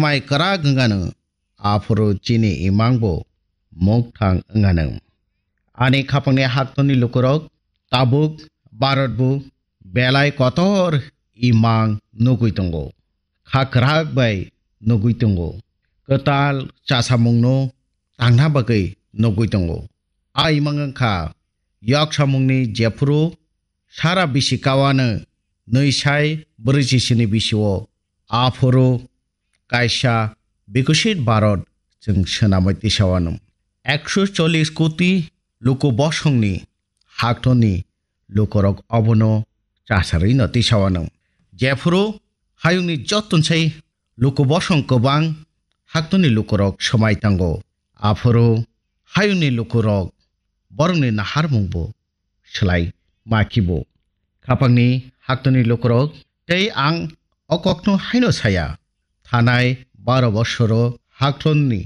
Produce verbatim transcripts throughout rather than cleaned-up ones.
mai kwrak wngano, aphuru chini imangbo mukthang wngano. Ani khapangni haktorni lukurok tabuk Bharatbo belai kotor imang nugwi tongo, kha kwrak bai nugwi tongo, kwtal chasamungno tangna bagwi nugwi tongo. A imang wngkha yoksamungni jephuru sara bisi kawano nwi sai brwi chisini bisio aphuru kaisa Bikosit Bharat chwng swnamwi tisawano. Ekso chollis koti luku bosongni haktorni lukurok obono chasarwino tisawano. Jephuru hayungni jottonsai luku bosong kwbang haktorni lukurok swmai tango. Aphuru hayungni lukurok borokni naharmungbo swlai ma khibo. Khapangni haktorni lukurok tei ang o kokno haino saya. Thanai baro bosoro haktorni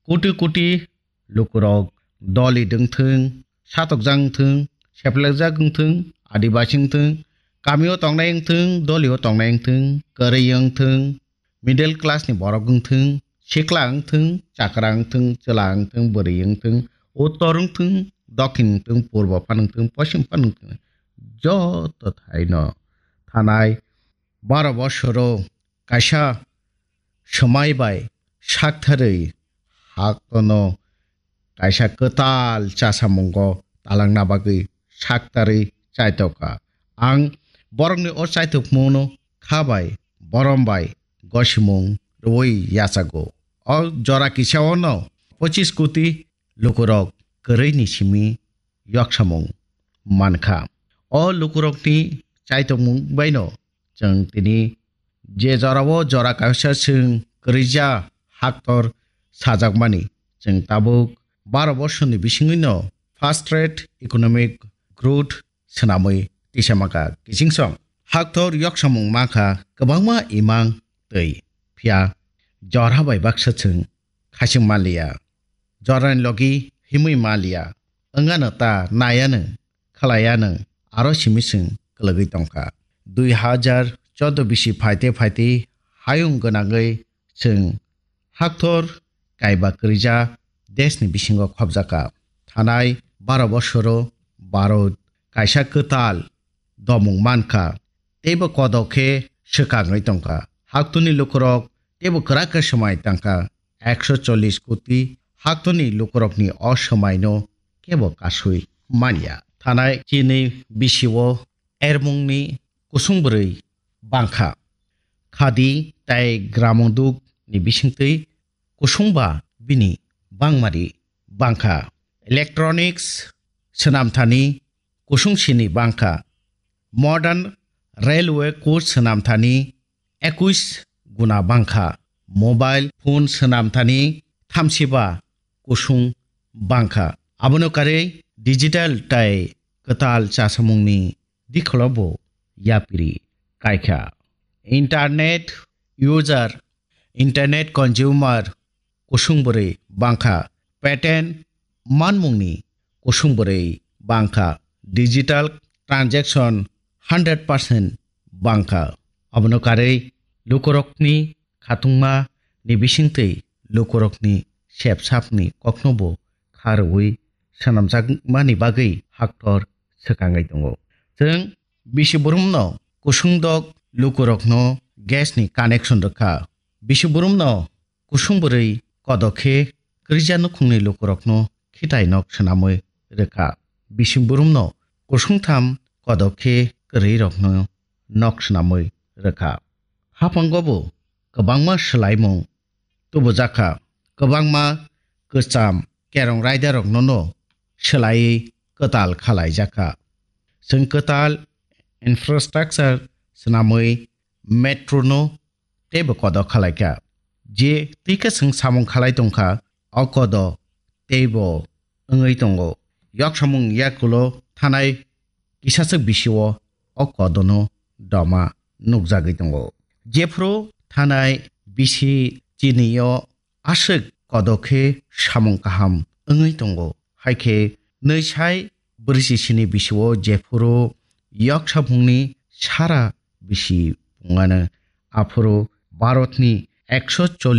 koti koti lukurok doli dwngthwng, satokjak wngthwng, seplekjak wngthwng, adibasi wngthwng, kamio tongnai wngthwng, dolio tongnai wngthwng, kwrwi wngthwng, middle class ni borok wngthwng, sikla wngthwng, chakra wngthwng, chwla wngthwng, bwrwi wngthwng, uttor wngthwng, dokhin wngthwng, purbo phan wngthwng, poschim phan wngthwng, joto thaino thanai baro bosoro kaisa swmai bai saktharwi haktono kaisa kwtal chasamungo talangna bagwi saktarwi chaitokha. Ang borokni o chaitokmungno kha bai, borom bai gosimung rwui yachago. O jora kisaono pochis koti lukurok kwrwini simi yoksamung mankha. O lukurokni chaitokmung baino chwng tini je jorao jora kaisa chwng kwrwija haktor sajakmani, chwng tabuk baro bosorni bisingwino fast rate economic growth swnamwi tisamaka. Kichingsong haktor yoksamung mankha kwbangma imang twi, phiya jora bai baksa chwng khaching manliya, jorani logi himwi manliya, wngano ta naiyanw, khwlaiyanw, aro simi chwng kwlwgwi tongkha. Dui hajar chordo bisi phaite phaite hayung gwnangwi chwng haktor kaiba kwrwija deshni bisingo khopjakha. Thanai baro bosoro Bharat kaisa kwtal domung mankha, teibo kodok khe swkangwi tongkha. Haktorni lukurok teibo kwrak khe swmai tangkha. Ekso chollis koti haktorni lukurokni o swmaino kebo kasui manya. Thanai chini bisio ermungni kusung bwrwi bangkha. Khadi tei gramoduk ni bisingtwi kusungba bini bangmari bangkha. Electronics swnamthani kusung sini bangkha. Modern railway coach swnamthani ekuis guna bangkha. Mobile phone swnamthani thamsiba kusung bangkha. Abono karwi digital tai kwtal chasamungni dikholo bo yapiri kaikha. Internet user, internet consumer kusung bwrwi bangkha. Patent manmungni kusung bwrwi bangkha. Digital transaction hundred percent bangkha. Abono karwi lukurokni khatungma ni bisingtwi lukurokni sepsapni koknobo kharwi swnamjakmani bagwi haktor swkangwi tongo. Chwng bisi burumno kusung dok lukurokno gas ni connection rwkha. Bisi burumno kusung bwrwi kodok khe kwrwija nukhungni lukurokno khitai nok swnamwi rwkha. Bisi burumno kusungtham kodok khe kwrwirokno nok swnamwi rwkha. Haphango bo kwbangma swlaimung tubujakha, kwbangma kwcham kerong raidaroknono swlaiwi kwtal khalaijakha. Chwng kwtal infrastructure swnamwi metro no teibo kodo khalaikha. Je twi khe chwng samung khalai tongkha, o kodo teibo wngwi tongo. Yoksamung yakulo thanai kisachwk bisio o kodono doma nukjagwi tongo. Jephru thanai bisi chini o aswk kodo khe samung kaham wngwi tongo. Hai khe nwi sai brwi chisini bisio jephuru yoksamungni sara bisi pungano, aphuru Bharatni ekso chollish